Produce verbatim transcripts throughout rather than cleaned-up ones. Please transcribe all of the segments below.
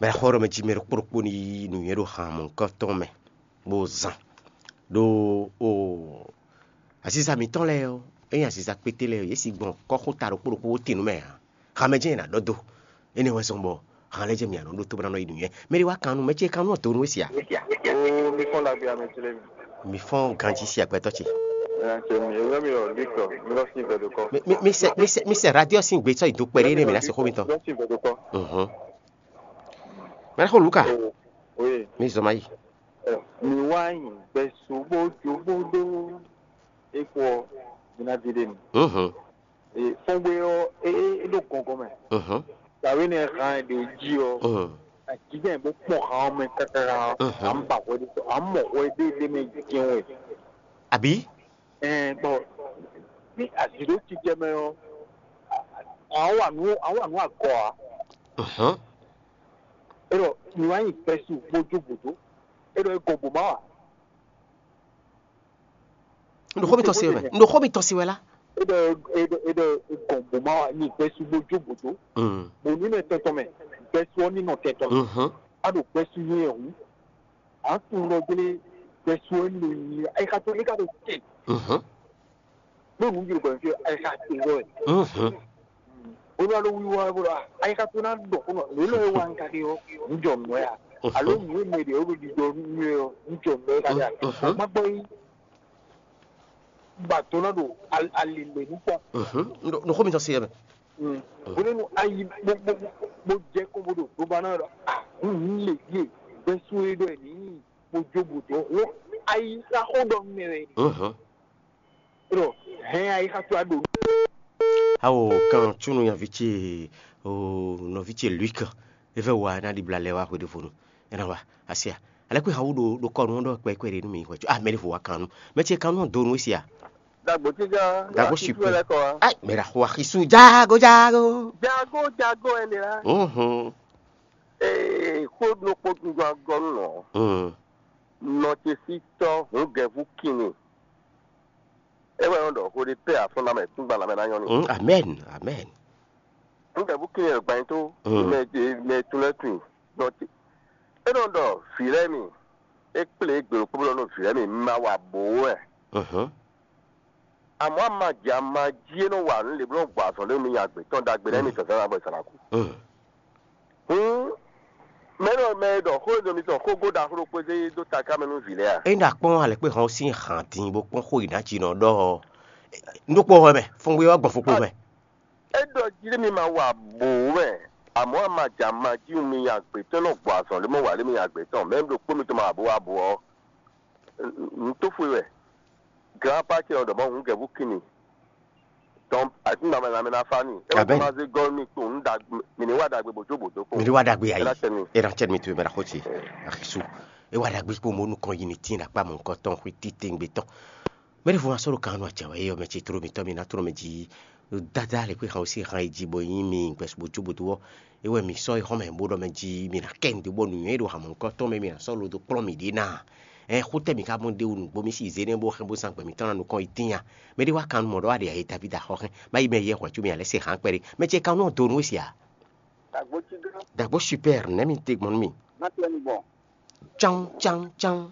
Mɛ xɔ ɖɔ mɛ jí mɛ ɖokpó ɖokpó ní yí nǔnywɛ́ ɖo han mɔ̌hunkɔtɔn mɛ, bó zán ɖó o aziza mǐtɔn lɛ́ɛ ɔ́, é nyí aziza kpété lɛ́ɛ ɔ́, yě si gbɔn kɔ́xota ɖokpó ɖokpó bó tin nǔ mɛ ǎ. Han mɛ jɛ́n è nǎ ɖɔ dó. Énɛ́ wɛ zɔ́n bɔ han lɛ́ɛ jɛ́n mǐ nǎ nɔ ɖótó bó ná nɔ yi nǔnywɛ́. Mɛ ɖé wá kan nú mɛ ce kan nú ɔ́ dǒ nú we sia? Ó, mi fɔ́n ɖagbe ame ce lé mi. Mi fɔ́n ganjí sia gbɛtɔ́ ce. Ɛ, ce mi, ewúrẹ́ mi ɔ, Luc, mi lɔ sí gbɛdokɔ. Mi mi mi sɛ mi sɛ mi sɛ radio sín gbé sɔ́ yi dó kpɛɖé nɛ mǐ ná se xó mitɔn. Mi lɔ sí gbɛdokɔ. Mhm. Mɛ xó Luka. O, oui. Mi zɔn ma yi. Ɛ, mi wá yìn gbɛsú bó jó bó dó. É kú ɔ, mi ná di ɖe mi. Mhm. Ee, fɔ́ngbé ɔ́, é é é ɖo gɔngɔn mɛ. Mhm. Dǎwe nɛ hán ɛ ɖo jí ɔ́, Mhm. Ajijɛ bó kpɔn hán ɔ́ mɛ káká. Mhm. À ń bà hwɛ ɖé, à ń mɔ hwɛ ɖé ɖé mɛ jɛ́n wɛ. Àbí? Ɛɛ, bɔn ní azǐ ɖó jijɛ mɛ ɔ́, à ń wà nú à ń wà nú agɔ ǎ. Mhm. É ɖɔ mi wá nyi gbɛsú bójú bòdó. É ɖɔ é gɔn bò má wà. Un ɖo xó mitɔn se wɛ mɛ. Un ɖo xó mitɔn se wɛ lá. Eɖɔ eɖɔ eɖɔ egɔn bó ma wá nyi gbɛsu bó jó bòtó. Mm. Bò ní mɛ tɔntɔn mɛ, gbɛsu ɔ́ ní nɔ tɛntɔn. Mhm. A ɖo gbɛsu nyɛ hǔn. A tunwun ɖɔ gbélé gbɛsu ɔ́ ní nyi ayixa tó ní ka ɖo tɛ. Mhm. Ɖó nǔ jɛ gbɛn fí ayixa tó wɛ. Mhm. Olú alo wíwá bó ɖɔ ayixa tó ná ɖɔ kó nɔ lélɔ yɛ wá ń ka ɖe ɔ́. Ń jɔ nǔ wɛ a? Mhm. Alo nǔ e mɛ ɖe ɔ́ ɖo ɖiɖɔ nú ɛ ɔ́, ń jɔ nǔ wɛ ka ɖe a? Mhm. Má gbɔ yí. Ba tó ná ɖo al- ali mɛ nú kpɔ́n. Mhm. Nɔ xó mi tɔn se yɛ mɛ. Bónú ayi bó bó bó jẹ́ kó bó ɖo gbóba náà ɖɔ a ń lè yé gbɛsú é ɖɔ ẹ̀ ní bó jó bó dɔn wọ́n ayi ká xó ɖɔ mɛ wɛ. Mhm. Ɖɔ hɛn ayi ká tó a ɖo. Awo kan tsunu nyavi ce o nɔvi ce Luik, e vɛ wa na ɖibla lɛ wa hwe ɖe vonu. Ena wa asia. Alɛ kwe hawu ɖo ɖo kɔnu ɖɔ kpɛ kwe ɖe nu mi hwe. Ah, mɛ ɖe vo wa kan nu. Mɛ ce kan nu do nu sia. Dagbo tija. Dagbo super. Ai, mɛ ɖa xo axisu jago jago. Jago jago ɛnɛ la. Mhm. Ee, xó ɖokpó tún jɔ agɔnu nɔ. Mm. Nɔ ce si tɔ hun gɛvu kinni. E wɛ nɔ ɖɔ xó ɖe pɛ afɔnna mɛ tún gba lamɛ na nyɔ ni. Mm, amen, amen. Hun gɛvu kinni e gban to. Mm. Mɛ mɛ tún lɛ tún. Nɔ ce. E nɔ ɖɔ vǐ lɛ́ɛ mi. E kplé gběɖokpó nɔ vǐ lɛ́ɛ mi ma wa bǒ wɛ. Mhm. Àmọ́ amaji amaji e nɔ wa nǔ lě bó nɔ gbɔ azɔn lé nú nya gbětɔn ɖagbe lɛ́ɛ mi tɔn zán bɔ è sɔ́ ná kú. Mm. Hǔn mɛ̌ nɔ mɛ e ɖɔ xó e nɔ mitɔn xógó ɖaxó ɖokpó zé dó taká mɛ nú vǐ lɛ́ɛ a? É ɖo akpɔ́n alɛ̌kpé hɔn sín hǎn din bó kpɔ́n xó e nǎ jí nɔ ɖɔ ɔ́. Nú kpó hɔn mɛ, fɔngbé ɔ́ gbɔn fukpo mɛ. É ɖɔ jí mi ma wa bǒ mɛ, àmọ́ amaji amaji mi nya gbětɔn nɔ gbɔ azɔn lé mɔ wa lé mi nya gbětɔn mɛ ɖokpó mitɔn ma wa bǒ wa bǒ ɔ́. Nǔ tó xwe wɛ. Glán pá ce ɔ́ ɖɔ mɔ hǔn gɛ̌ bú kin mi. Tɔn àti nǎmɛ nǎmɛ ná fá n'i. É wá Abɛn. Gbɔn má zé gɔ́ mì kpowun nú ɖagbe, mì ní wá ɖagbe bǒ jó bǒ dó kpowun. Mi ɖi wá ɖagbe ayi. É ná tɛ́ mi. É ná tɛ́ mi tu mɛ ná xó ce. Axisu. É wá ɖagbe kpó mo nukɔn yi ni tín ɖakpá mɔ nukɔn tɔn xwé títí ngbé tɔn. Mɛ ɖěvo ná sɔ́ ɖo kan nú acɛ wɛ é yɔ mɛ ce tló mitɔn mi ná tló mɛ jí. Dada le kpé han ó sí han yi jí bɔ yín mi gbɛsú bó jó bó dó ɔ́. É wɛ mǐ sɔ́ é xɔ́mɛ bó ɖɔ mɛ jí mi ná kɛ nǔɖé bɔ nǔnywɛ́ e ɖo hamɔ̌ nukɔn tɔn mɛ mi ná sɔ́ lo dó kplɔ́n mǐ ɖě ná. Ɛn xó tɛ́ mǐ ka mɔ ɖ'é wú nǔgbó mì sí zé nɛ́ bó hɛn bó zán gbɛ mǐtɔn ná nukɔn yi tíin a? Mɛ ɖé wá kan mɔ ɖɔ wá ɖe ayé Davídi axɔ́ hɛn, má yi mɛ yɛ hwɛ̌ có mì alɛ́ se hǎn kpɛɖé. Mɛ ce kan nɔ do nú we sia? Dagbo super nɛ̌ mi te gbɔn nú mi? Má tɛ́ mi gbɔn. Cán cán cán.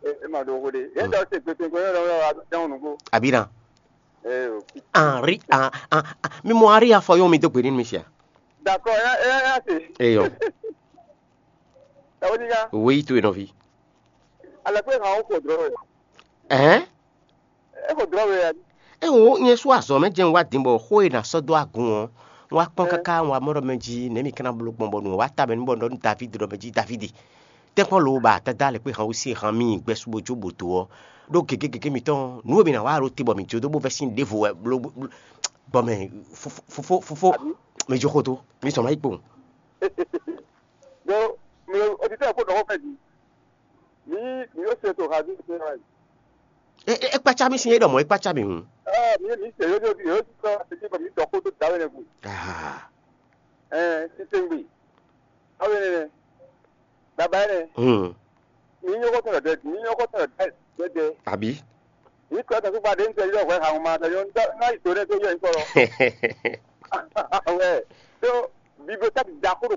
E ma ɖo xo ɖe. Yɛn dɔ se gbɛtɛn gbɛ yɛn dɔ dɔn nugbo. Abina. Ee o. Henri, ah, ah, ah, mi mɔ Henri afɔ yɔn mi dó gbe nínú mi sia. D'accord, ɛ ɛ ɛ se. Eyɔ. Tawo ni ka. Woyi to yen nɔvi. Alakpe kan o ko drɔ. Ɛhɛn. E ko drɔ we ya. Ewo nyɛ su azɔ mɛ jɛn wa din bɔ xó e na sɔ dó agun ɔ. Wa kpɔn kaka wa mɔ ɖɔ mɛ jí nɛ mi kana blo gbɔn bɔ nu wa ta mɛ nu bɔ nɔ David ɖɔ mɛ jí David. Tɛkpɔ lo ba dada le kpe han wo si han mi gbɛ su bo jo bo do ɔ. Ɖo gege gege mitɔn nu mi na wa ɖo te bɔ mi jo do bo vɛ sin ɖevo wɛ blo bɔ mɛ fofo fofo mi jo xo do mi sɔ ma yi kpowun. Donc, le auditeur ko dɔgɔ fɛ di. Ni ni yóò ṣe tó havi ṣe wá yìí. E e kpatsa mi sin e ɖɔ mɔ e kpatsa mi hun. Aa mi mi ṣe yóò di yóò ti sọ títí kò mi dɔ kó tó dáwé ne gùn. Ah. Ɛ títí ń gbè. Dáwé ne ne. Bàbá ne. Hmm. Mi nyɔkɔ tọ̀nà dɛ mi nyɔkɔ tọ̀nà dɛ dɛ dɛ. Àbí. Mi kọ́ tẹ̀sí padà ń tẹ̀lé ọ̀gbẹ́ àwọn ọmọ àtẹ̀yọ́ ń tẹ́ náà ìtòrẹ́ tó yẹ ń kọ́ lọ. Wẹ́ tó bibliothèque dako ɖo